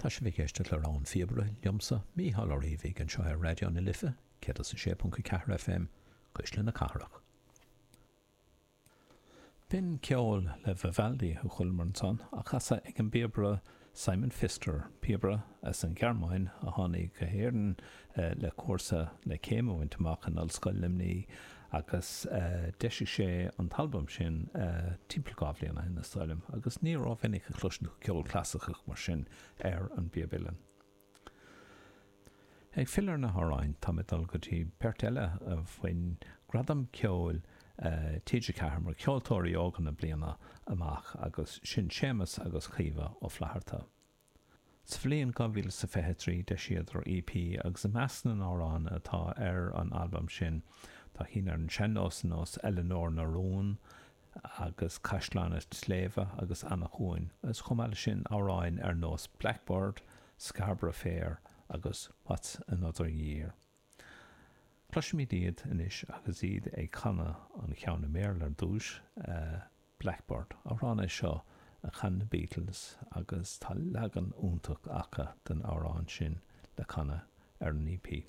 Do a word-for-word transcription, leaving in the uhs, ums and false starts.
Tá sibh ag éisteacht le Rogha an Phíobaire liomsa, Mícheál Ó Riabhaigh, anseo ar Raidió na Life, céad is a sé ponc a ceathair F M, Cuisle na Cathrach. B'in ceol le Vivaldi a chualamar ansan, á chasadh ag an bpíobaire Simon Pfister, píobaire as an Ghearmáin a tháinig go hÉirinn le cúrsa le céim a bhaint amach in Ollscoil Luimnigh, agus d'eisigh sé an t-albam sin timpeall dhá bhliain ó shin, is dóigh liom, agus ní rómhinic a chloiseann tú ceol clasaiceach mar sin ar an bpíob uilleann. Ag filleadh ar na hamhráin, tá mé ag dul go dtí beirt eile a bhain gradam ceoil T G ceathair mar cheoltóirí óga na bliana amach, agus sin Séamus agus Caoimhe Ó Flatharta. Sa bhliain dhá mhíle is fiche a trí d'eisíodar E P, agus i measc na n-amhrán atá ar an albam sin tá cinn ar an sean-nós ar nós Eileanóir na Rún agus Caisleán an tSléibhe agus Eanach Dhúin, agus chomh maith leis sin amhráin ar nós Blackbird, Scarborough Fair agus What's Another Year. Cloisfimid iad anois agus iad ag canadh an cheann i mBéarla ar dtús, Blackbird. Amhrán é seo a chan na Beatles, agus tá leagan iontach acu den amhrán sin le canadh ar an E P.